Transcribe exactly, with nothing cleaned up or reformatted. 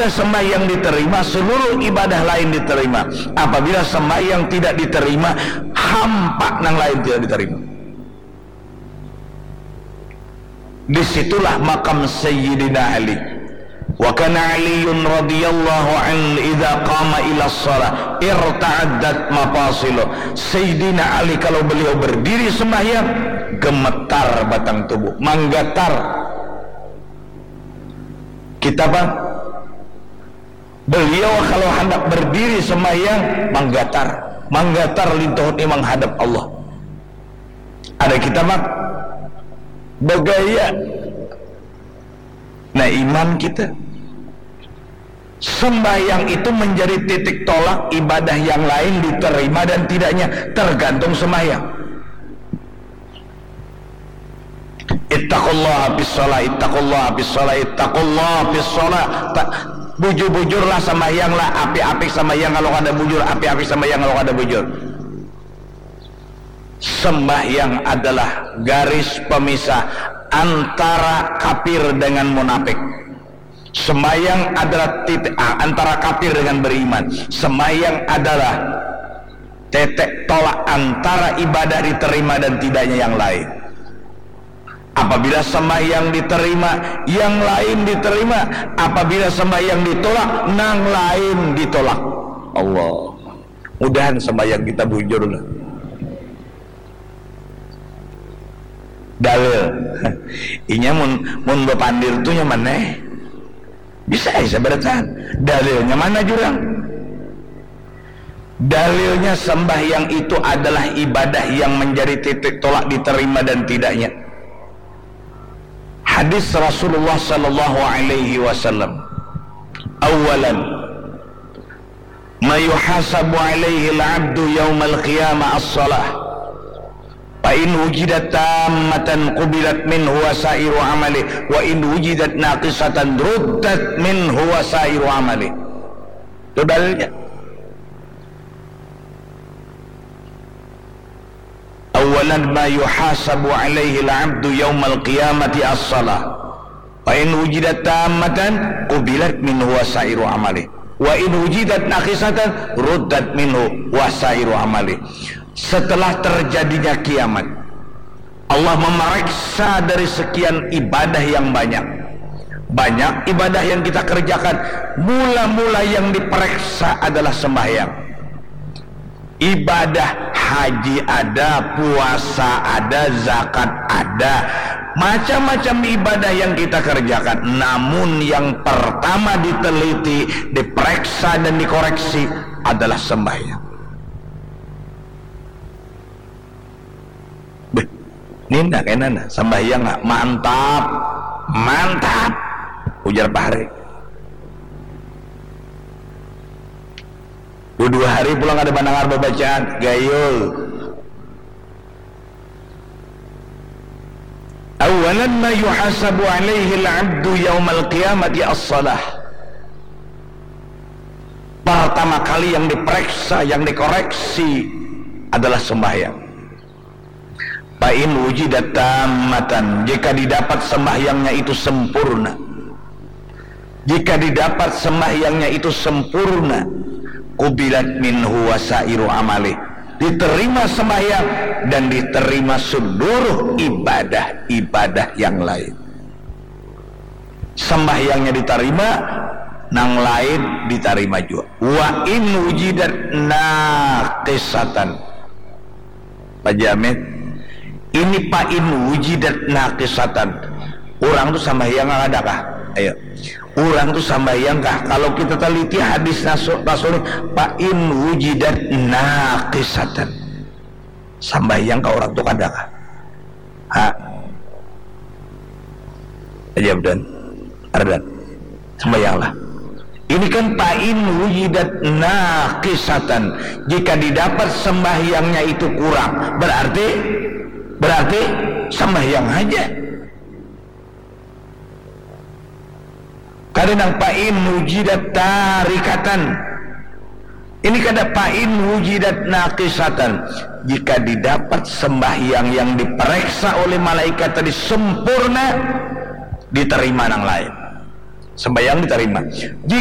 sembahyang diterima, seluruh ibadah lain diterima. Apabila sembahyang tidak diterima, hampa nang lain tidak diterima. Di situlah makam Sayyidina Ali. Wa kana Aliyun radhiyallahu anhu idza qama ila shalah irta'addat mafasiluh. Sayyidina Ali kalau beliau berdiri sembahyang, gemetar batang tubuh, manggatar. Kita, Pak, beliau kalau handak berdiri sembahyang, manggatar. Manggatar lintuh ni manghadap Allah. Ada kita, Pak, bagaya. Nah, iman kita. Sembahyang itu menjadi titik tolak ibadah yang lain diterima dan tidaknya, tergantung sembahyang. Ittaqullaha fis shalah, ittaqullaha fis shalah, ittaqullaha fis shalah. Ta-, bujur-bujurlah sembahyanglah, apik-apik sembahyang kalau kada bujur, apik-apik sembahyang kalau kada bujur. Sembahyang adalah garis pemisah antara kafir dengan munafik. Sembahyang adalah titik, ah, antara kafir dengan beriman. Sembahyang adalah titik tolak antara ibadah diterima dan tidaknya yang lain. Apabila sembahyang diterima, yang lain diterima. Apabila sembahyang ditolak, nang lain ditolak. Allah. Mudahan sembahyang kita bujur lah. Dalil. Inya mun, mun bapandir tu nyaman eh. Bisa ai sabaratahan. Dalilnya mana jurang? Dalilnya sembahyang itu adalah ibadah yang menjadi titik tolak diterima dan tidaknya. Hadis Rasulullah sallallahu alaihi wasallam. Awalan, ma yuhasabu alaihi al-abdu yaumal qiyamah as-salah. Fa in wujidat tammatan qubilat minhu wasairu amali, wa in wujidat naqisatan ruddat minhu wasairu amali. Itu dalilnya. Awalan ma yuhasabu alaihi al-abdu yaumal qiyamati as-salah. Fa in wujidat tammatan qubilat minhu wasairu amali. Wa in wujidat naqisatan ruddat minhu wasairu amali. Setelah terjadinya kiamat, Allah memeriksa dari sekian ibadah yang banyak. Banyak ibadah yang kita kerjakan, mula-mula yang diperiksa adalah sembahyang. Ibadah haji ada, puasa ada, zakat ada, macam-macam ibadah yang kita kerjakan. Namun yang pertama diteliti, diperiksa dan dikoreksi adalah sembahyang. Beh, nina kena nah, sembahyang nak mantap, mantap, ujar Pak Hari. Dua, dua hari pulang ada mendengar bacaan gayul. Awalan ma yuhasabu alaihi al-abdu yaumal qiyamati as-salah. Pertama kali yang diperiksa, yang dikoreksi adalah sembahyang. Fa in wujidat tammatan, jika didapat sembahyangnya itu sempurna. Jika didapat sembahyangnya itu sempurna, qubilat minhu wasairu amali. Diterima sembahyang dan diterima seluruh ibadah-ibadah yang lain. Sembahyangnya diterima, nang lain diterima juga. Wa in wujidat naqisatan. Pak Jamil, ini fa in wujidat naqisatan. Orang tu sambahyang kadakah? Ayo. Orang tu sambahyang kah? Kalau kita teliti hadis Rasul, Rasul, fa in wujidat naqisatan. Sambahyang kah orang tu kadakah? Ha? Aja dan Ardan. Sembahyanglah. Ini kan fa in wujidat naqisatan. Jika didapat sembahyangnya itu kurang, berarti, berarti sembahyang aja. Kada nang fa in wujidat tarikatan. Ini kada fa in wujidat naqisatan. Jika didapat sembahyang yang diperiksa oleh malaikat tadi sempurna, diterima nang lain. Sembahyang diterima.